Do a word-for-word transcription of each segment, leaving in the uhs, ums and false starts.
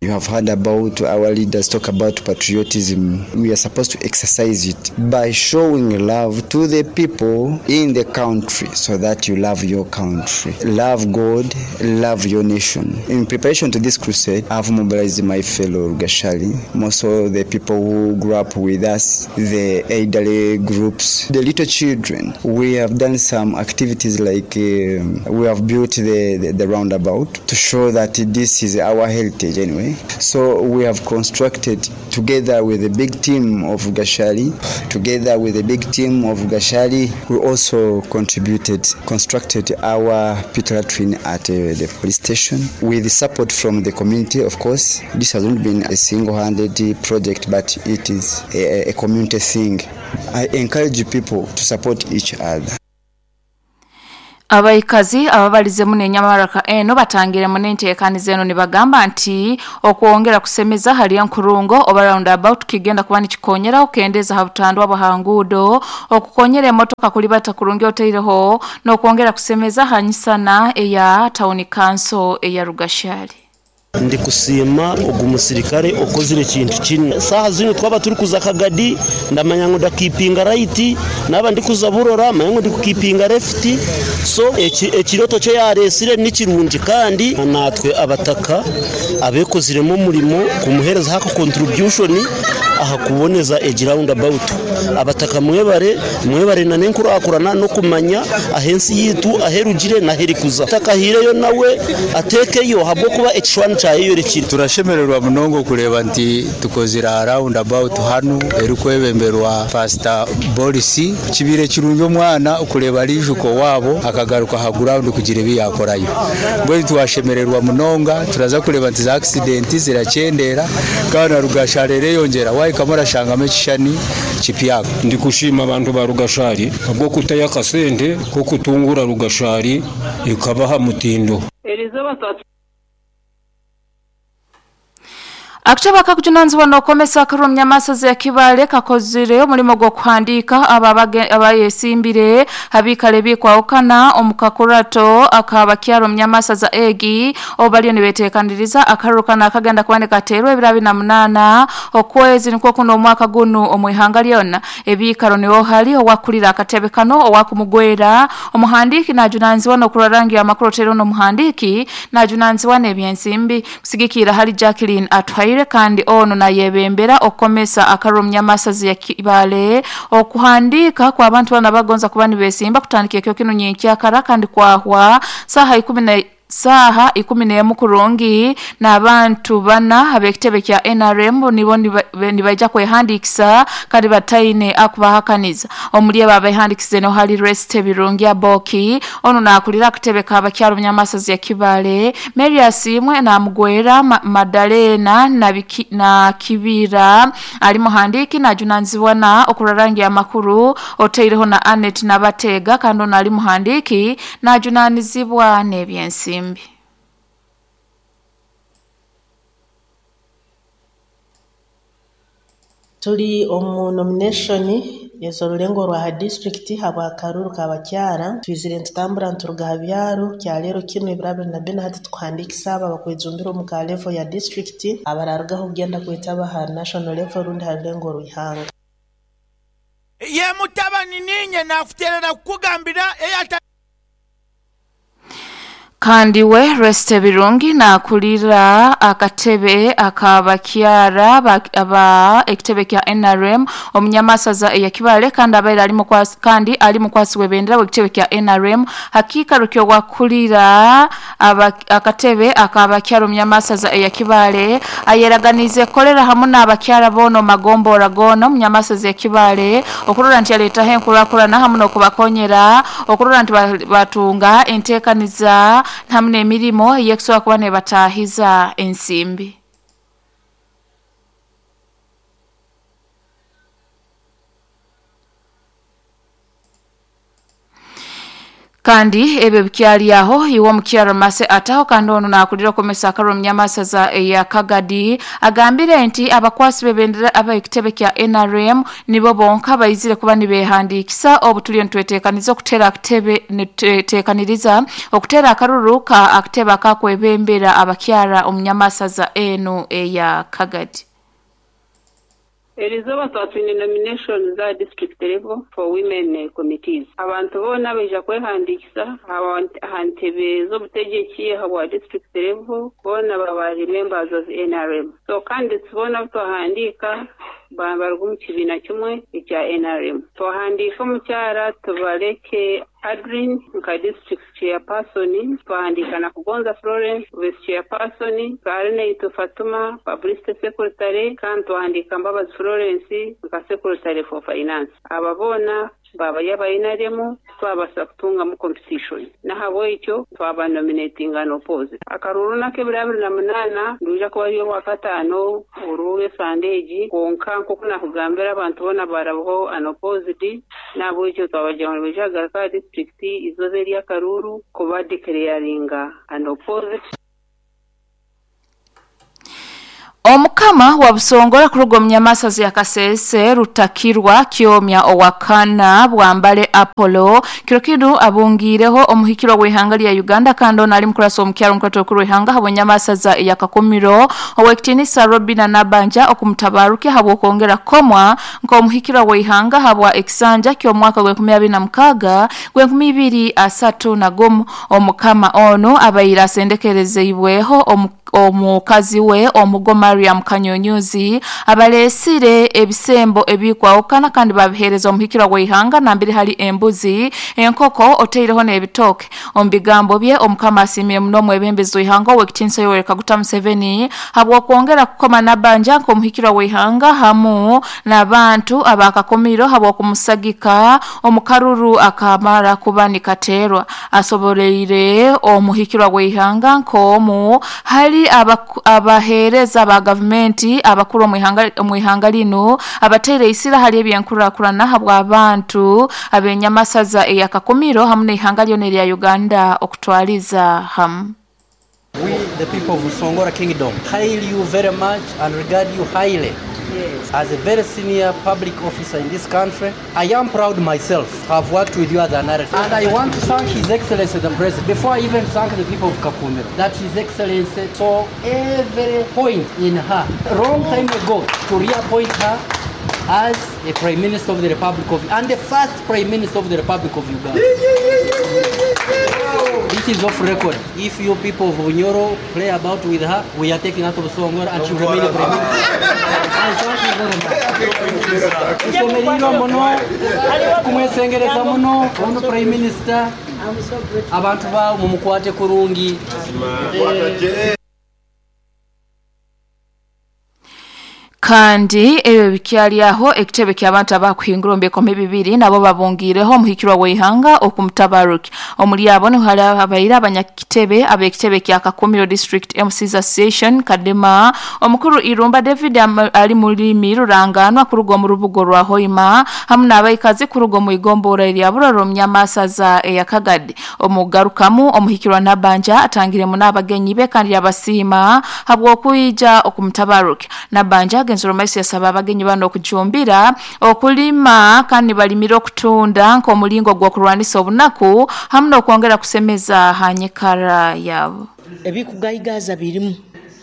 You have heard about our leaders talk about patriotism. We are supposed to exercise it by showing love to the people in the country so that you love your country. Love God, love your nation. In preparation to this crusade, I've mobilized my fellow Rugashali, most of the people who grew up with us, the elderly groups, the little children. We have done some activities like um, we have built the, the, the roundabout to show that this is our heritage anyway. So we have constructed together with a big team of Gashali, together with a big team of Gashali, we also contributed, constructed our pit latrine at uh, the police station with the support from the community, of course. This has not been a single-handed project, but it is a, a community thing. I encourage people to support each other. Abaikazi ababalize mune nyamaraka eno batangire mune nteekaniza eno nibagamba nti okwongera kusemeza hali nkurungo oba roundabout kigenda kuba nikikonyera okendeza habutandwa bwahangudo okukonyera emotoka kulibata kurungi oteireho n'okwongera kusemeza hanyisana eya town council eya Rugashali. Ndi kusiima ogu musirikare okozire ekintu kino saha zino twaba turi kuza Kagadi ndamanya ngo ndakipinga right naba ndi kuza Burora manya ngo ndi kukipinga left so ekiroto cye yaresire nikirungi kandi natwe abataka abekoziremo umurimo kumuhereza haka contribution aha kuboneza egi roundabout abataka mwebare mwebare na nenkurakurana no kumanya ahensi yitu aherugire na herikuza takahireyo nawe atekeyo habwo kuba ekishwani cyayorekire. Turashemererwa munongo kureba nti tukozira roundabout hanu erikwebemberwa Pastor Boris kibire kirungi omwana kureba rijuko wabo akagaruka ha ground kugira ebi yakorayo bwe twashemererwa munonga turaza kureba nti za accident ziracendera kandi na Rugashari yongera wayikamura shangame kishani kipyako. Ndi kushima abantu ba Rugashari abwo kutaya kasente ko kutungura Rugashari ikabaha mutindo. Akutaba kakujunanzibwa n'okomesa akarumya masazi ya Kibale kakozire omulimo gw'okuhandiika abayesimbire abikale bikwawukana omukakurato akabakyaro mnyamasaza egi obaliyo nibeteekaniriza akarukana akagenda kuboneka kateerwa ebiro abiri na munaana okwezi nikwo kuno omwaka guno omwihanga lyonna ebiikaro niho hali owakulira akatebe kano owakumugwera omuhandiiki najunanzibwa n'okurarangira amakuru otero n'omuhandiiki najunanzibwa n'ebyensimbi kusigikira hali Jacqueline Atwaire kandi ono na yebembera okomesa akarumya masazi ya Kibale okuhandika kwa abantu bana bagonza kuba nibesimba kutandika ekyo kino nyenkyakara kandi kwahwa saha ikumi na saha ikumi n'emu kurungi n'abantu bana ab'ekitebe kya N R M nibo nibaija kwehandikisa kandi bataine akubahakaniza omuli abo abehandikize no hali Rest Birungi Aboki ono nakulira akatebe k'abakyalo munyamasazi ya Kibale Mary Asimwe na Mugwera Ma Madalena na, Biki, na Kibira ali muhandiki na junanzibwa na okurarangira amakuru oteireho na Anet Nabatega kandi ono ali muhandiki na junanizibwa n'ebyensi. Tuli omu nomination yezorulengo rwa district habwa karuru kabakyara twizire ntutambura nturuga habyaro kyalero kino ebirabiri na bina hati tukuhandikisa aba bakwejumbira omu ka level ya district abararugaho kugenda kwetaba ha national level rundi ha rulengo rwihanga. Ye mutabani ninye nakuterera kukugambira eyata. Kandi we Reste Birungi na kulira akatebe akabakyara aba ekitebe kya N R M omunyamasaza eya Kibale kandi abaire ali mukwasi kandi ali mukwasi webendera wekitebe kya N R M hakika rukyo wakulira akatebe akabakyara omunyamasaza eya Kibale ayeraganize kolera hamu n'abakyara bono magombora gono omunyamasaza ya Kibale okurora nti aleta henkurakurana hamu n'okubakonyera okurora nti batunga enteekaniza hamwe n'emirimo yekusobola kuba nebatahiza ensimbi. Kandi ebyo bikyali aho iwo mukyaro mase ataho kandi ono nakulira komesa akaro mnyamasaza ya Kagadi agambire nti abakwasi bebendera abayekitebe kya N R M nibo bonka bayizire kuba nibehandikisa obutuliyo ntwetekaniza okutera akitebe nitekaniriza okutera akaruru ka akitebe akakwebembera abakyara omunyamasaza eno eya Kagadi. Erizoba twatwine nomination za district level for women committees. Abantu bona baija kwehandikisa ahantebe z'obutegeki habwa district level bona babari members of N R M. So candidates bona twahandika baruga mu kibiina kimwe ekya N R M. Twahandika omukyara tubaleke Adrin nka district chairperson, twahandika na Kugonza Florence vice chairperson, Karine Fatuma publicity secretary, kandi twahandika Mbabazi Florence nka secretary for finance. Ababona baba yaba N R M twabasa kutunga mu competition. Nahabwekyo twaba nominating and oppose. Akaruru nakebira abiri na munana nduja kuba yo wakatano uruwe sandeji konka nko nakugambira abantu bona barabaho unopposed nabwekyo twabaja mu bijagaruka district izoze lya Karuru kuba declaringa unopposed. Omukama wa Busongora kuruga omunyamasazi ya Kasese Rutakirwa Kyomya owakana Bwambale Apollo kiro kinu abungireho omuhikirwa w'ihanga lya Uganda kandi ono ali mukurasa omukyalo omukwata okuru w'ihanga habw'enyamasaza ya Kakumiro owekitinisa Robina Nabanja okumutabaruke habw'okwongera komwa nk'omuhikirwa w'ihanga habwa ekisanja ky'omwaka gw'enkumi abiri na mukaaga gw'enkumi ibiri asatu na gumu. Omukama ono abaire asendekerezeibweho omu omukazi we omugo Mariam Kanyonyuzi abalesire ebisembo ebikwawukana kandi babihereza omuhikirwa w'ihanga nambiri hali embuzi enkoko oteireho n'ebitoke. Omu bigambo bye omukama asimire muno omwebembezi w'ihanga ow'ekitinisa Yoweri Kaguta Museveni habw'okwongera kukoma Nabanja nk'omuhikirwa w'ihanga hamu n'abantu abakakomiro habw'okumusagika omukaruru akamara kuba nikaterwa. Asoboleire omuhikirwa w'ihanga nk'omu hali abahereza ba gavumenti abakuru omu ihanga lino abateire isira hali ebyenkurakurana habwa abantu abenyamasaza eya Kakumiro hamu n'ihanga lyona erya Uganda okutwaliza hamu. We, the people of Busongora Kingdom, hail you very much and regard you highly. Yes. As a very senior public officer in this country, I am proud myself to have worked with you as an artist. And I want to thank His Excellency the President, before I even thank the people of Kakumiro, that His Excellency saw every point in her, wrong time ago, to reappoint her as a Prime Minister of the Republic of, and the first Prime Minister of the Republic of Uganda. This is off record. If you people of Bunyoro play about with her, we are taking out of Busongora and she will remain a Prime Minister. I thank you very much. Tusomeriro muno, kumwesengereza muno, ono Prime Minister, abantu ba mumukwate kurungi. Kandi ebyo bikyali aho ekitebe ky'abantu abakuhingura omu bikumi bibiri nabo babungireho omuhikirwa w'ihanga okumutabaruki. Omuli abo niho hari abaire abanyakitebe ab'ekitebe kya Kakumiro District M Cs Association Kadema omukuru Irumba David ali mulimi ruranganwa kuruga mu rubugo rwa Hoima hamu n'abaikazi kuruga mu igombora erya Buroro omunyamasaza eya Kagadi. Omugarukamu omuhikirwa Nabanja atangiremu n'abagenyi be kandi yabasiima habw'okwija okumutabaruki. Nabanja Nzoromaisi yasaba abagenyi bano okujumbira okulima kandi balimira okutunda nk'omulingo gw'okurwanisa obunaku hamu n'okwongera kusemeza hanyikara yabo. Ebikugayigaza birimu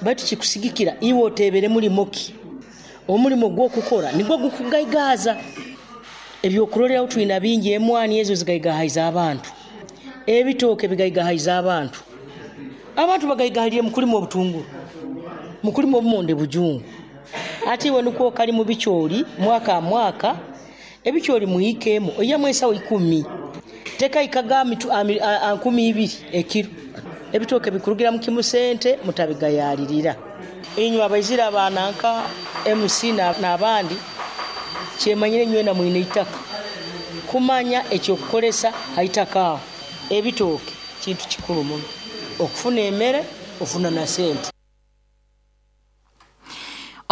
batu kikusigikira iwe otebere mulimo ki omulimo gw'okukora nigwo gukugayigaza. Ebyokuroleraho twina bingi emwani ezo zigayigahaiza abantu, ebitooke bigayigahaiza abantu, abantu bagayigahalire mukulima obutunguru, mukulima obumonde bujungu. Ati iwe nukwo kali mu bikyoli mwaka mwaka ebikyoli muhikemu oyamu ensawo ikumi teka ikaga nkumi ibiri ekiro. Ebitooke bikurugira mu kimu sente mutabigayalirira. Inywe abaizira abananka M C n'abandi kyemanyire nywe na mwine itaka kumanya ekyokukolesa haitaka aho. Ebitooke kintu kikulu muno okufuna emere ofuna na sente.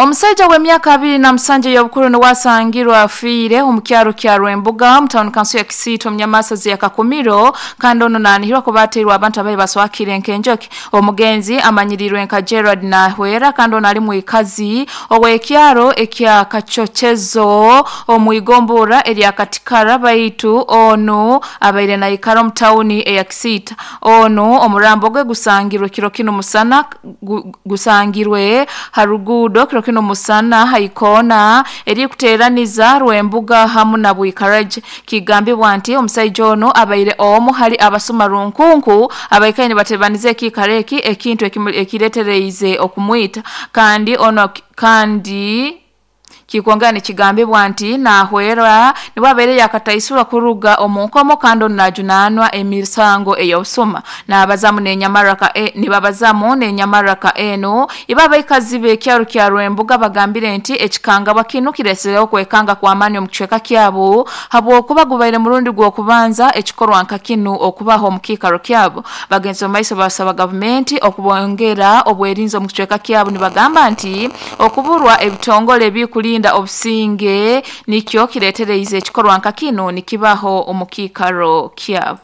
Omusajja w'emyaka abiri na musanju y'obukuru niwasangirwa afiire omu kyaro kya Rwembuga mu town council ya Kisiito omu Nyamasazi ya Kakumiro, kandi ono naanihirwa kuba ateirwe abantu abayi baswakire nk'enjoki. Omugenzi amanyirirwe nka Gerard Nahwera, kandi ono ali mwikazi ow'ekyaro ekya Kachochezo omu igombora erya Katikara, baitu ono abaire naikara omu tawuni eya Kisiita. Ono omurambo gwe gusangirwe kiro kino musana gu, gusangirwe harugudo kiro kino musana haikona eri kuteraniza Rwembuga hamu na Bwikaraje. Kigambibwa nti omusajja ono abaire omu hali abasuma runkunku abaikaine batebanize ekikareki ekintu ekiretereize okumwita, kandi ono kandi kikongani kigambibwa nti nahwera niwabeere yakataisura kuruga omunkomo, kandi onajunanwa emisango ey'obusuma. Nabazamu n'enyamaraka e, nibabazamu n'enyamaraka eno ibaba ikazibe ekyaro kya Rwembuga bagambire nti ekikangabwa kinu kiresereho kwekanga kwa amani omu kicweka kyabo habwokuba gubaire murundi gw'okubanza ekikorwa nka kinu okubaho omu kiikaro kyabo. Bagenzi omu maiso basaba gavumenti okubongera obwerinzi omu kicweka kyabo, nibagamba nti okuburwa ebitongole ebikulinda obusinge nikyo kiretereize ekikorwa nka kino nikibaho omu kiikaro kyabo.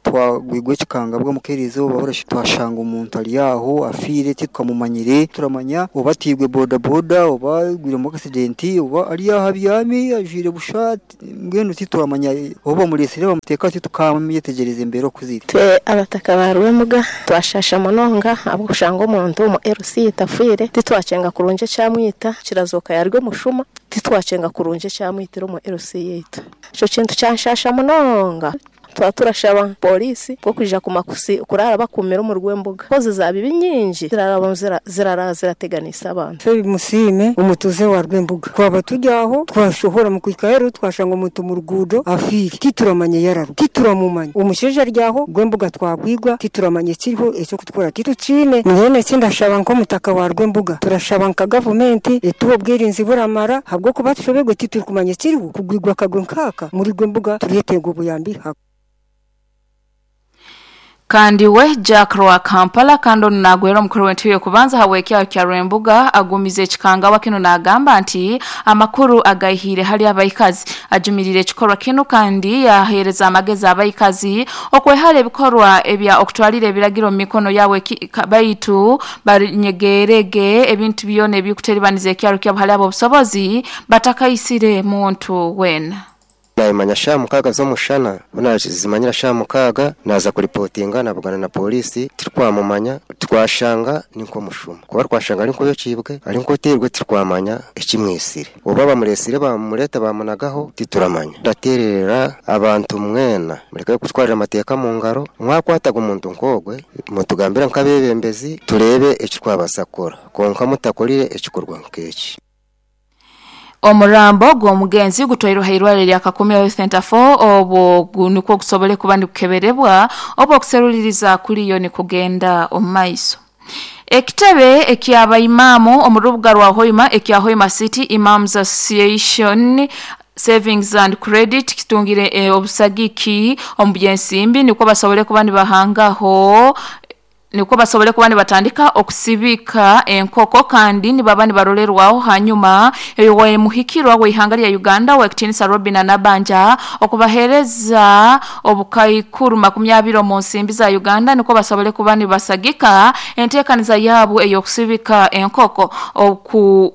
Twagwigwa ekikangabwa mukerizo bahora twashanga omuntu ali aho afiire titukamumanyire, turamanya oba tigwe boda boda oba gwire mu accident oba ali aho abyami ajire bushati mbwenu tituramanya oba muresire bamuteka titukamyetegereza imbere okuzira. Twe abataka ba Rwembuga twashasha munonga abushanga omuntu mu L C tafire titwacenga kurunje cyamwita kirazoka yarwe mushuma titwacenga kurunje cyamwitira mu L C yitu ico kintu cyanshasha munonga. Twa turashaba polisi ko kuja kumakusi kurara bakumira mu Rwembuga koze zabibi nyingi ziraraba zirara zirateganisa abantu. Fe musime umutuze wa Rwembuga kwaba tujyaho twashohora mu kwikahero twashanga umuntu mu rugudo afiri tituramanye yararu tituramumanye umusheje ryaho Rwembuga twagwigwa tituramanye kiriho ecyo kutwara titucine mwene sindashaba nko mutaka wa Rwembuga turashaba nka government etubo bwirinzi buramara habwo kuba tushobegwe tituri kiriho kugwigwa kagwe nkaka muri Rwembuga turiyetego buyambi. Kandi we Jack Roa Kampala kando nagwera omukuru w'entebe kubanza hawekya kya Rwembuga agumize ekikangabwa kino nagamba nti amakuru agahire hali abayikazi ajumirire ekikorwa kino kandi yahereza amagezi abayikazi okwehara ebikorwa ebya okutwalira ebiragiro mu mikono yawe baitu barinyegerege ebintu byona ebikuteribaniza ekyaro kyabo hali abo obusobozi batakaisire muntu wena. Naimanya sha mukaga zo mushana buna zimanyira sha mukaga naza kuripotinga nabugana na polisi tirkwamumanya twashanga ninko mushuma kuba twashanga ari nko yocibwe ari nko terwe tirkwamanya ekimwisire oba bamuresire bamureta bamunagaho tituramanya. Ndaterera abantu mwena mureke kutwarira amateka mu ngaro mwakwataga umuntu nkogwe mutugambira nkabebembezi turebe ekikwabasakora konka mutakorire ekikorwa nkeki. Omurambo gw'omugenzi gutwairwe hairware lya Kakumiro Health Center four obwo nukwo gusobole kuba nikukeberebwa obwo okuseruliriza kuliyo ni kugenda omumaiso. Ekitebe eky'abaimamu omu rubuga rwa Hoima ekya Hoima City Imams Association Savings and Credit kitungire e, obusagiki omu byensimbi nukwo basobole kuba nibahangaho niko basobole kuba nibatandika okusibika enkoko kandi nibaba nibarolerwaho hanyuma eyo muhikirwa w'ihanga lya Uganda wekitinisa Robin Anabanja okubahereza obukaikuru makumi abiri mu nsimbi za Uganda niko basobole kuba nibasagika enteekaniza yabo ey'okusibika enkoko oku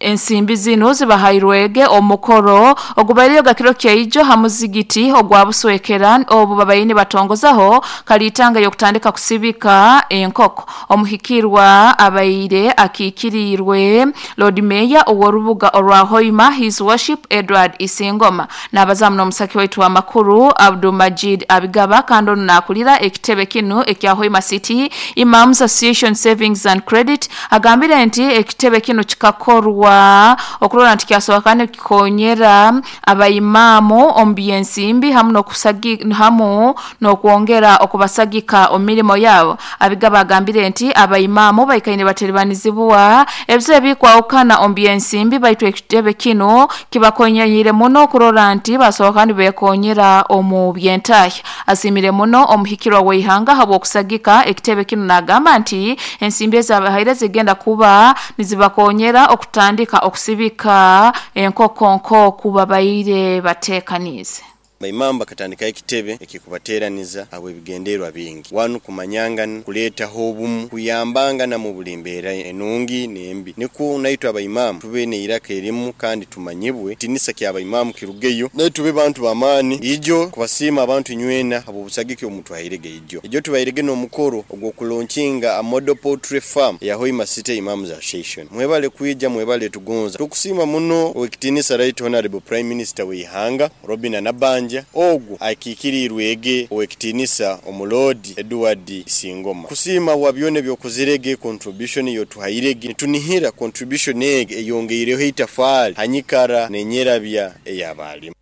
ensimbi zino zibahairwege omukoro ogubairiyo gakiro kyaijo hamuzigiti ogwa buswekera obu babayini batongozaho kalitanga yokutandika kusibika enkoko. Omuhikirwa abaire akikirirwe Lord Mayor oworubuga orwa Hoima His Worship Edward Isingoma nabazamu n'omusaki waitu wa makuru Abdul Majid Abigaba kando nakulira ekitebe kinu ekya Hoima City Imams Association Savings and Credit agambire nti ekitebe kinu kikakorwa kwa okurora nti kyasoboka nikikonyera abayimamu omu byensimbi hamu n'okusagi hamu n'okwongera okubasagika omu mirimo yabo. Abigaba agambire nti abayimamu baikaine bateribanizibwa ebizibu ebikwawukana omu byensimbi baitu ekitebe kino kibakonyerire muno okurora nti basoboka nibekonyera omu byentahya. Asimire muno omuhikirwa w'eihanga habw'okusagika ekitebe kino nagamba nti ensimbi ezabahaire zigenda kuba nizibakonyera okutandika okusibika enkoko nkoku babaire batekanize. Baimamba katandika ekitebe ekikubateraniza abo ebigenderwa bingi wanu kumanyangana kuleetaho obumu kuyambangana mu buli mbeera enungi n'embi niko naitwe abaimaamu tube neiraka erimu kandi tumanyibwe tinisa kya abaimamu kirugeyo naye tube bantu bamaani ijo kubasiima abantu nywena abo busagiki omutwahirege ijo ijo tubairege n'omukoro ogw'okulonkinga a model poultry farm ya Hoima City Imams Association. Mwebale kuija, mwebale tugonza tukusiima muno owekitinisa Right Honorable Prime Minister w'ihanga Robin Nabanja ogwo akikirirwe ege owekitinisa omulodi Edward Singoma kusima wa byone byokozirege contribution yotuhairege nitunihira contribution ege eyongeireho itafali hanyikara nenyerabya eyabalimu.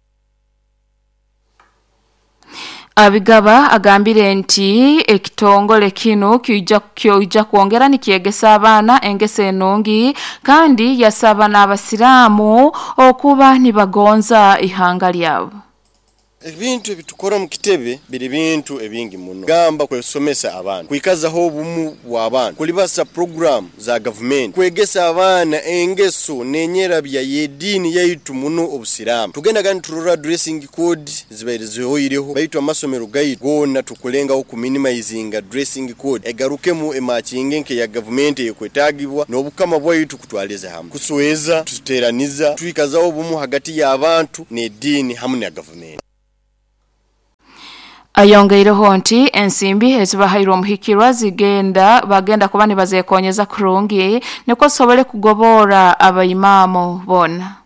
Abigaba agambire nti ekitongole kino kija kyoija kuongera nikiegesa abaana engese enungi kandi yasaba n'abasiraamu okuba nibagonza ihanga lyabo. Ebintu ebitukora mu kitebe biri bintu ebingi muno gamba kwesomesa abantu kwikazaho obumu bw'abantu kulibasa program za government kwegesa abaana engeso nenyerabya y'ediini yaitu muno obusiraamu tugenda gani turora dressing code zibairizehoireho baitu amasomero gaitu gona tukulengaho kuminimizinga dressing code egarukemu emakinge nke ya government ekwetagibwa n'obukama bwaitu kutwaliza hamwe kusweza tuteraniza twikazaho obumu hagati y'abantu n'ediini hamwe na government. Ayongeireho nti ensimbi ezibahairwe omuhikirwa zigenda bagenda kuba nibazekonyeza kurungi niko sobole kugobora abayimamu bona.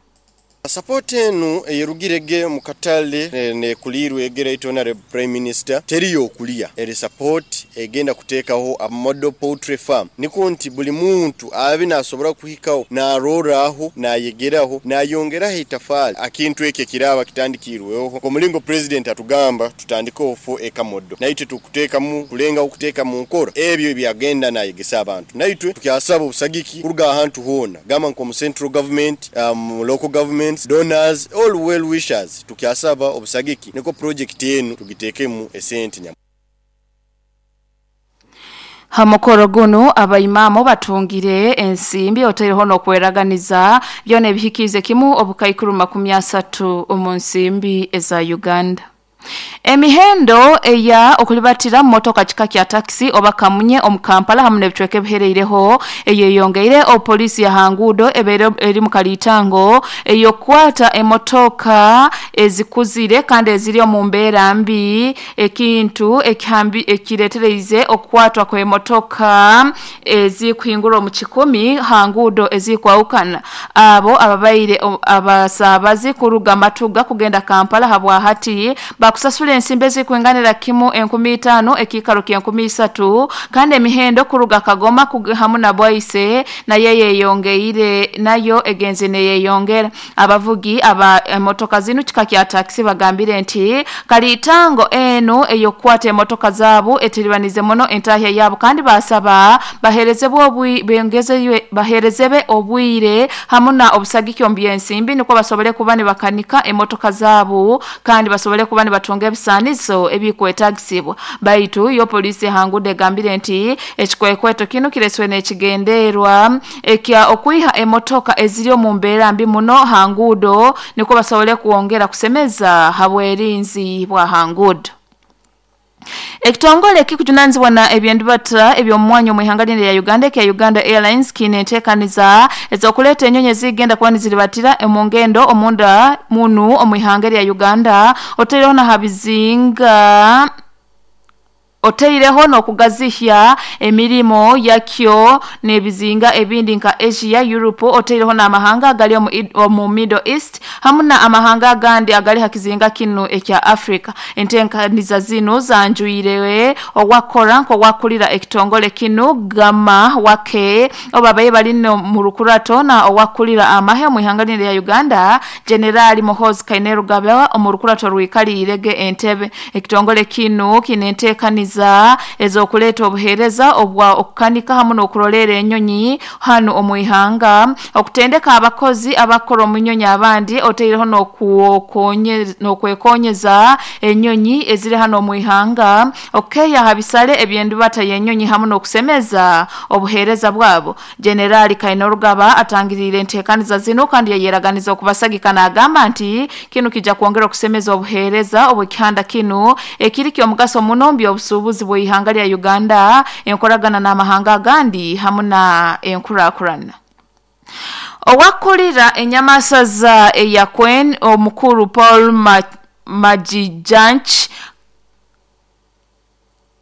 Support enu eyerugirege mu katale ne kulirwe egera itonare Prime Minister teriyo okulia eri support egenda kuteekaho a model poultry farm niko nti buli muntu abe nasobora kuhikaho naroraho nayegeraho nayongeraho itafali akintu eke kiraba kitandikirweho ko mulingo president atugamba tutandikeho fo eka modo naitwe tukuteekamu kulenga okuteeka mu nkora ebyo ebyagenda nayegesa abantu naitwe tukyasaba obusagiki kuruga ahantu hona gamba nko mu central government, um, local government, donors, all well wishers tukyasaba obusagiki niko project yenu tugitekemu esente nya. Hamukoro guno abayimamu batungire ensimbi otereho nokweraganiza byone ebihikize kimu obukaikuru makumi asatu omu nsimbi eza Uganda. Emihendo eya okulibatira motoka kika kya taxi oba kamunye omu Kampala hamwe n'ebicweka ebihereireho eyeyongeire opolisi ya hangudo ebere eri mu kalitango eyokwata emotoka ezikuzire kandi eziri omu mbeera mbi ekintu ekihambi ekiretereize okwatwa kwa emotoka ezikuhingura omu kikumi hangudo ezikwawukana abo ababaire abasabazi kuruga matuga kugenda Kampala habwa hati bakusasula ensimbi ezikuinganira kimu enkumi itaano ekikaro kya enkumi isatu kandi emihendo kuruga Kagoma hamu na Bwaise na yeye yongeire nayo egenze neyeyongera. Abavugi aba emotoka zinu kika kya taxi bagambire nti kalitango enu eyokwata emotoka zaabo etiribanize muno entahya yabo kandi basaba baherezebwe obwi bengeze baherezebe obwire hamu na obusagiki omu byensimbi niko basobole kuba ne bakanika emotoka zaabo kandi basobole kuba ne batonga ebisanizo ebikwetagisibwa. Baitu yo polisi hangude gambire nti ekikwekweto kino kireswe n'ekigenderwa ekya okwiha emotoka eziri omu mbeera mbi muno hangudo niko basobole kuongera kusemeza habwerinzi bwa hangudo. Ekitongole kikujunanizibwa na ebyendibata eby'omwanya mu ihanga lya Uganda kya Uganda Airlines kinetekaniza ezokuleta enyonyi zigenda kuba niziribatira emongendo omunda munu omu ihanga lya Uganda otereho na habizinga oteireho n'okugazihya emirimo yakyo n'ebizinga ebindi nka Asia, Europe, oteireho n'amahanga agali omu Middle East hamwe na amahanga agandi agali hakizinga kino ekya Africa. Enteekaniza zino zanjuirewe owakora nk'owakulira ekitongole kino Gama Wake obabaye bali mu rukurato na owakulira amahe mu ihanga lya Uganda General Muhoozi Kainerugaba omu rukurato rwikalirege Entebbe. Ekitongole kino kinenteekaniza ezokuleta obuhereza obwa okukanika hamwe n'okurolera enyonyi hano omuihanga, okutendeka abakozi abakora omunyonyi abandi, oteireho n'okwekonyeza enyonyi eziri hano omuihanga, okeya habisale ebyendubata y'enyonyi hamwe n'okusemeza obuhereza bwabo. Generali Kainerugaba atangirire enteekaniza zino kandi yayeraganiza okubasagika n'agamba nti kino kijja kwongera okusemeza obuhereza obw'ekihanda kino ekiri ky'omugaso muno mu obusuubuzi bw'ihanga lya Uganda, enkoragana n'amahanga agandi hamwe na enkurakurana. Owakulira enyamasaza eyakwen omukuru Paul Majijanch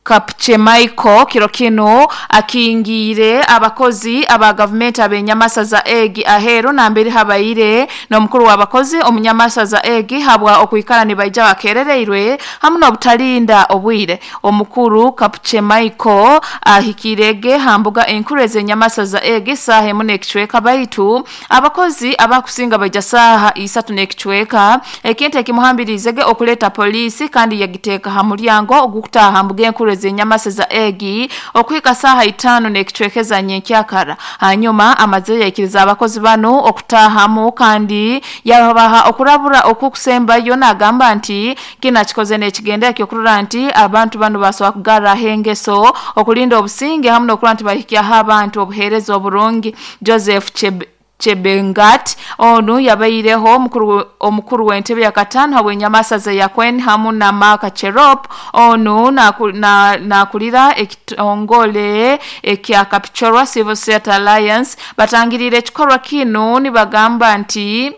Kapchemaiko kiro kino akingire abakozi aba government abenyamasaza egi ahero na mbere habaire n'omukuru w'abakozi omunyamasaza egi habwa okuikala nibaija bakerereirwe hamwe n'obutalinda obwire. Omukuru Kapchemaiko ahikirege hambuga enkuru ezenyamasaza egi saha emu n'ekicweka baitu abakozi abakusinga baija saha isatu n'ekicweka ekintu ekimuhambirizege okuleta polisi kandi yagiteeka ha mulyango ogukutaha hambuga enkuru zenyamasaza egi okuhika saha itano n'ekicwekeza nyenkyakara. Hanyuma amaze yakiriza abakozi bano okutahamu kandi yabaha okurabura okukusembayo n'agamba nti kina kikoze n'ekigenda ekyokurora nti abantu bano basobola kugarra hengeso okulinda obusinge hamwe n'okurora nti bahikyaho abantu obuheereza oburungi. Joseph Chebe Chebengat onu yabaireho omukuru omukuru w'entebe ya katano habw'enyamasaza ya Kwen hamu na Mark Cherop onu nakulira na, na ekitongole ekya Kapchorwa Civil Society Alliance batangirire ekikorwa kino nibagamba nti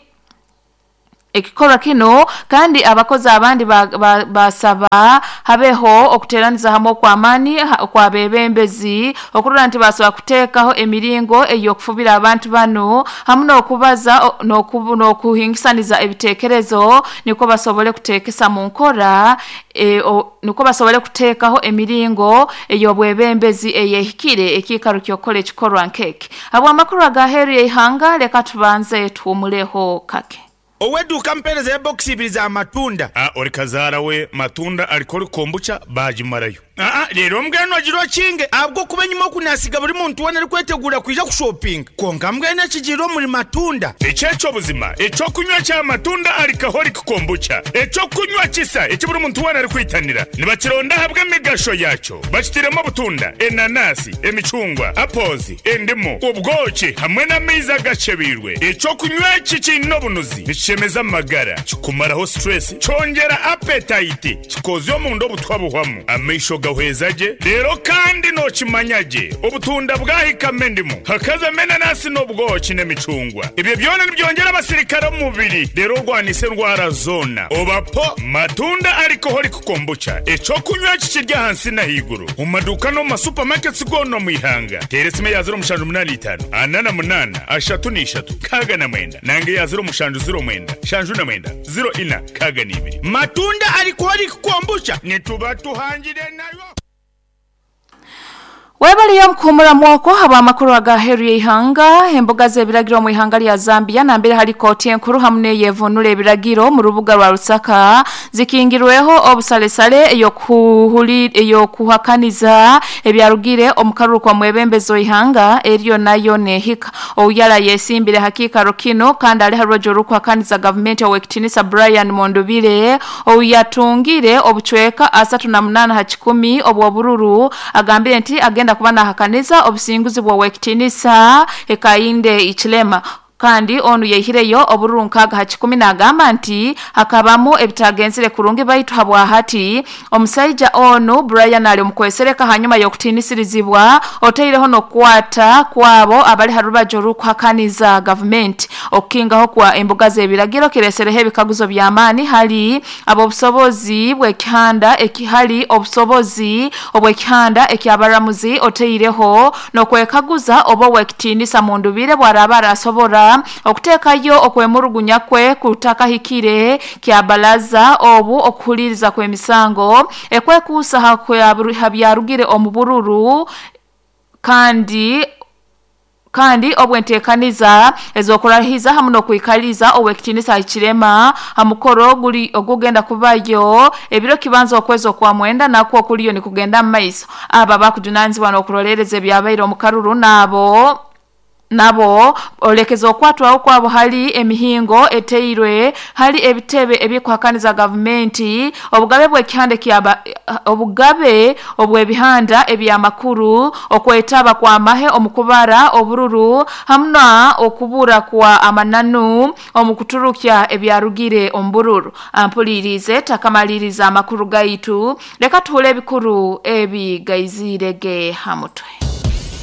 ekikorwa kino kandi abakozi abandi basaba ba, ba habeho okuteraniza hamwe kwa amani kwa bebembezi okurora nti basobola kuteekaho emiringo ey'okufubira abantu bano hamwe n'okubaza n'okuhingisaniza ebiteekerezo niko basobole kuteekesa mu nkora e, o, niko basobole kuteekaho emiringo ey'obwebembezi eyehikire ekiikaro ky'okukola ekikorwa nkeke. Habw'amakuru agaheeru y'eihanga leka tubanze tuwumuleho kake. Oweduka mpereza ya box ibiri za matunda. Ah, ori kazara we matunda alikori kombucha bajimarayo. Ah, rero mbweno agiro kinge abwo kuba nyuma kunasiga buri muntu wona ari kwetegura kuja ku shopping. Konka mbwene kijiro muri matunda. Echecho buzima, echo kunywa cha matunda alikahori kombucha. Echo kunywa kisa, echo buri muntu wona ari kwitanira. Nibakironda habwe migasho yacho. Bakitiremo butunda, enanasi, emicungwa, apples, endimu, ubwoki hamwe n'amaizi agacebirwe. Echo kunywa kikino bunuzi. Chemeza magara, kikumaraho stress, chongera appetite, kikozyo mu ndo butwabuhwamu. Amaisho gahwezaje, rero kandi no kimanyaje. Obutunda bwahikame ndimu, hakaza menanasi n'obwoki n'emicungwa. Ibyo byona nibyongera abasirikare mu mubiri, rero rwanise ndwara zona. Obapo matunda alcoholic kombucha. Echo kunywa kikirya hansi na higuru. Mu maduka no mu supermarkets gono mu ihanga. Teresime ya zero mushanju munani itanu, anana munana, ashatu n'ishatu, kaga na mwenda. Nange ya zero mushanju zero mwenda, shanju na mwenda, zero ina, kaga n'ibiri. Matunda alcoholic kombucha nituba tuhangire nayo. Webali ya mkumura mwoko haba amakuru agaheru y'ihanga emboga z'ebiragiro mu ihanga lya Zambia na mbere hari koti enkuru hamwe yevunura ebiragiro mu rubuga rwa Lusaka zikingirweho obusalesale eyo kuhuli eyo kuhakaniza ebyarugire omukaruko kwa mwebembezo ihanga eriyo nayo nehika oyala yesimbire hakika rokino kandi ali harojo rukuhakaniza government owekitinisa Brian Mondubile oyatungire obuchweka asatu na munana hachikumi obwo bururu agambire nti agenda kuba nahakaniza obusinguzi bwa wekitinisa ekainde ichilema. Kandi onu yehireyo obururu nkaga ha kikumi n'agamba nti hakabamu ebitagenzire kurungi baitu habwahati omusaija onu Brian ali omukwesereka hanyuma y'okutiinisirizibwa oteireho n'okukwata kwabo abali ha rubaju orukuhakaniza gavumenti. Okukingaho kwa embuga z'ebiragiro kiresereho ebikaguzo by'amaani hali ab'obusobozi bw'ekihanda ekihali obusobozi obw'ekihanda ekyabaramuzi oteireho n'okwekaguza oba ow'ekitiinisa mundubire bwaraba arasobora okuteekayo okwemurugunya kwe kutakahikire kyabalaza obu okuhuliriza kw'emisango ekwekuusa ha byarugire omu bururu kandi kandi obwenteekaniza ez'okurahiza hamu n'okwikaliza ow'ekitiinisa Hichilema ha mukoro guli ogugenda kubayo ebiro kibanza okwezi okwa mwenda nakwo okuliyo nikugenda mu maiso. Aba bakujunanizibwa n'okurolereza ebyabaire omu karuru nabo nabo olekeza okwatwaho kwabo hali emihingo eteirwe hali ebitebe ebikuhakaniza gavumenti obugabe bw'ekihanda kyaba obugabe obw'ebihanda ebyamakuru okwetaba kwa mahe omukubara obururu hamuna okubura kwa amananu omukuturukya ebyarugire ombururu. Ampulirize takamaliriza amakuru gaitu, leka tuhule ebikuru ebi gaizirege hamutwe.